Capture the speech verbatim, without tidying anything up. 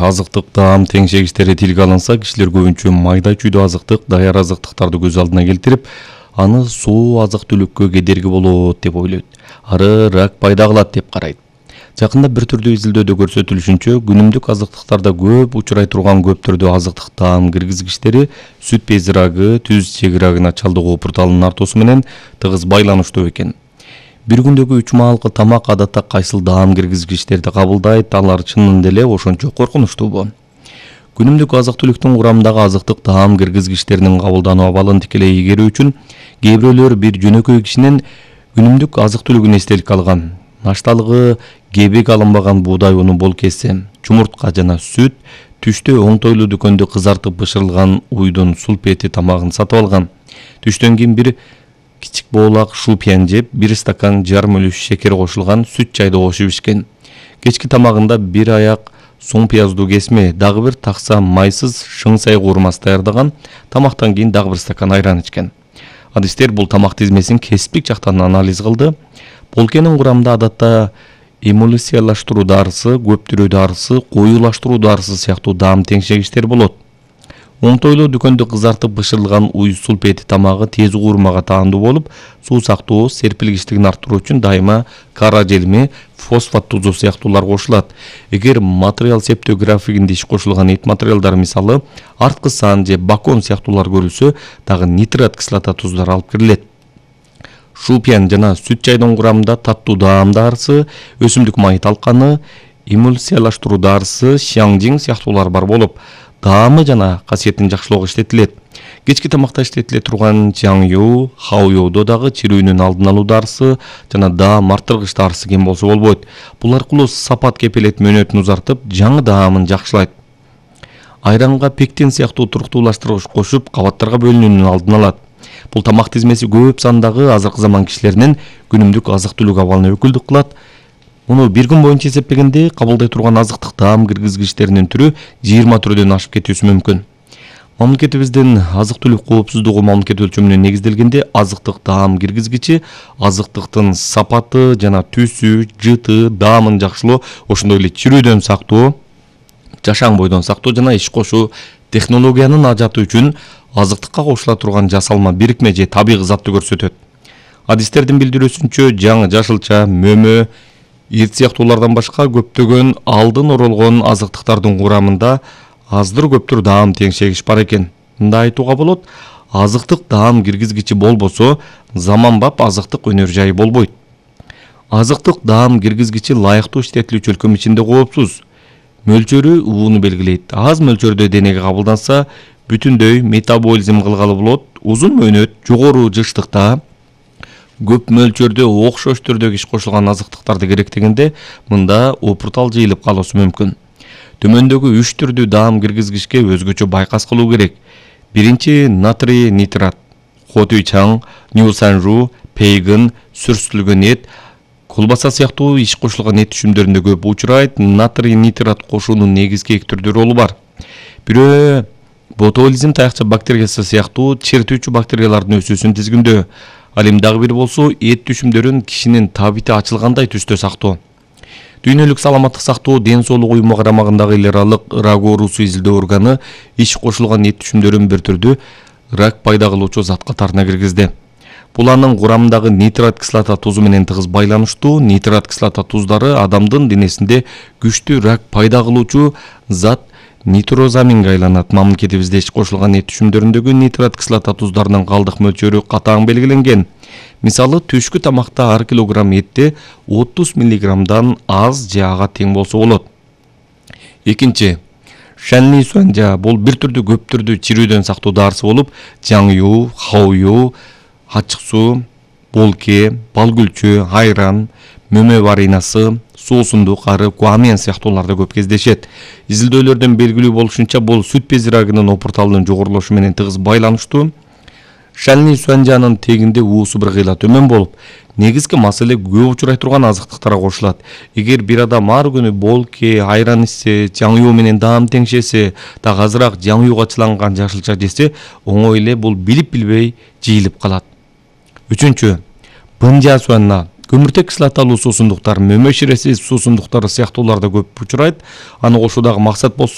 Азыктык таам теңшегичтери тилге алынса, кишилер көбүнчө майда чүйдө азыктык, даяр азыктыктарды көз алдына келтирип, аны суу азык-түлүккө кедерги болот деп ойлойт. Ары рак пайда кылат деп карайт. Жакында бир түрдүү изилдөөдө көрсөтүлүшүнчө, күнүмдүк азыктыктарда көп учурай турган көп түрдүү азыктык таам киргизгичтери сүт бези рагы, түз ичеги рагына чалдыгуу порталынын артуусу менен тыгыз байланыштуу экен. Бир күндөгү үч маалкы тамак адатта кайсыл даам киргизгичтерди кабылдайт, алар чынында эле ошончо коркунучтуубу? Күнүмдүк азык-түлүктүн курамындагы азыктык таам киргизгичтеринин кабылдануу абалын тикелей ийгерүү үчүн кээ бирөөлөр бир жөнөкөй кишинин күнүмдүк азык-түлүгүн эстеликке алган. Нашталыгы кебек алынбаган буудай уну болкеси, чумуртка жана сүт, түштө оңтойлуу дүкөндө кызартып бышырылган уйдун сулпети тамагын сатып алган. Түштөн кийин бир кичик боолак шупьян жеп, бир стакан жарым үлүш шекер кошулган сүт чайды кошуп ичкен. Кечки тамагында бир аяк соң пияздуу кесме, дагы бир такса майсыз шыңсай куурмасы даярдаган, тамактан кийин дагы бир стакан айран ичкен. Адистер бул тамак тизмесин кесиптик жактан анализ кылды. Болкенин курамында адатта эмульсиялаштыруу дарысы, көптүрүү дарысы, коюлаштыруу дарысы сыяктуу даам теңшегичтер болот. Оңтойлуу дүкөндө кызартып бышырылган уй сулпети тамагы тез куурмага таандуу болуп, суусактуу, серпилгичтигин арттыруу үчүн дайыма кара желми, фосфат тузу сыяктуулар кошулат. Эгер материал септөө графигинде иш кошулган эт материалдар, мисалы арткы сан же бакон сыяктуулар көрүлсө, дагы нитрат кислота туздар алып кирилет. Шупьян жана сүт чайдын курамында таттуу даам дарысы, өсүмдүк майы талканы, эмульсиялаштыруу дарысы, шаңжиң сыяктуулар бар болуп, даамы жана касиетин жакшылоого иштетилет. Кечки тамакта иштетиле турган чаңю, хаоюдо дагы чирүүнүн алдын алуу дарысы жана даам арттыргыч дарысы кем болсо болбойт. Бул аркылуу сапат кепелет мөөнөтүн узартып, жаңы даамын жакшылайт. Айранга пектин сыяктуу туруктуулаштыргыч кошуп, кабаттарга бөлүнүүнүн алдын алат. Бул тамак тизмеси көп сандагы азыркы заман кишилеринин күнүмдүк азык-түлүк абалына өкүлдүк кылат. Муну бир күн боюнча эсептегенде кабылдай турган азыктык таам киргизгичтеринин түрү жыйырма түрдөн ашып кетүүсү мүмкүн. Мамлекетибиздин азык-түлүк коопсуздугу мамлекет өлчөмүнө негизделгенде азыктык таам киргизгичи азыктыктын сапаты жана түсү, жыты, даамын жакшылоо, ошондой эле чирүүдөн сактоо, жашаң бойдон сактоо жана иш кошуу технологиянын ажаты үчүн азыктыкка кошула турган жасалма бирикме же табигый затты көрсөтөт. Адистердин билдирүүсүнчө, жаңы жашылча, мөмө, ирт сыяктуулардан башка көптөгөн алдын оролгон азыктыктардын курамында аздыр көптүр даам теңшегич бар экен. Мындай айтууга болот, азыктык таам киргизгичи болбосо, заманбап азыктык өнөр жайы болбойт. Азыктык таам киргизгичи ылайыктуу иштетилүүчү өлкөм ичинде коопсуз. Мөлчөрү ууну белгилейт. Аз мөлчөрдө денеге кабылданса, бүтүндөй метаболизм кылгалы болот. Узун мөөнөт, жогору жыштыкта, көп мөлчөрдө окшош түрдөгү иш кошулган азыктыктарды керектегенде мында опуртал жыйылып калуусу мүмкүн. Төмөндөгү үч түрдүү даам киргизгичке өзгөчө байкас кылуу керек. Биринчи натрий нитрат, хотуй чаң, ньюсанжу, пейгин, сүрсүтүлгөн эт, колбаса сыяктуу иш кошулган эт түшүмдөрүндө көп учурайт. Натрий нитрат кошуунун негизги эки түрдүү ролу бар. Бирөө ботулизм таякча бактериясы сыяктуу чертүүчү бактериялардын өсүүсүн тизгиндөө. Ал эми дагы бир болсо эт түшүмдөрүн кишинин табити ачылгандай түстө сактоо. Дүйнөлүк саламаттык сактоо ден соолук уюму карамагындагы эл аралык рак оорусу изилдөө органы иш кошулган эт түшүмдөрүн бир түрдүү рак пайда кылуучу зат катарына киргизди. Бул анын курамындагы нитрат кислота тузу менен тыгыз байланыштуу. Нитрат кислота туздары адамдын денесинде күчтүү рак пайда кылуучу зат нитрозаминге айланат. Мамлекетибизде иш кошулган эт түшүмдөрүндөгү нитрат кислота туздарынын калдык мөлчөрү катаң белгиленген. Мисалы түшкү тамакта ар килограмм этте отуз миллиграммдан аз же ага тең болсо болот. Экинчи, шанли суанжа, бул бир түрдүү көп түрдүү чирүүдөн сактоо дарысы болуп, жаңю, хаою, ачык суу, болке, балгүлчү, айран, мөмө варинасы, суусундук, ары гуамиан сыяктууларда көп кездешет. Изилдөөлөрдөн белгилүү болушунча, бул сүт бези рагынын опурталынын жогорулушу менен тыгыз байланыштуу. Шанли суанжанын тегинде уусу бир кыйла төмөн болуп, негизги маселе көп учурай турган азыктыктарга кошулат. Эгер бир адам ар күнү болке, айран ичсе, жаңю менен даам теңшесе, дагы азыраак жаңюга чыланган жашылча жесе, оңой эле бул билип билбей жыйылып калат. Үчүнчү, бынжа суанна, көмүртек кислоталуу суусундуктар, мөмө ширеси суусундуктары сыяктууларда көп учурайт. Аны кошуудагы максат болсо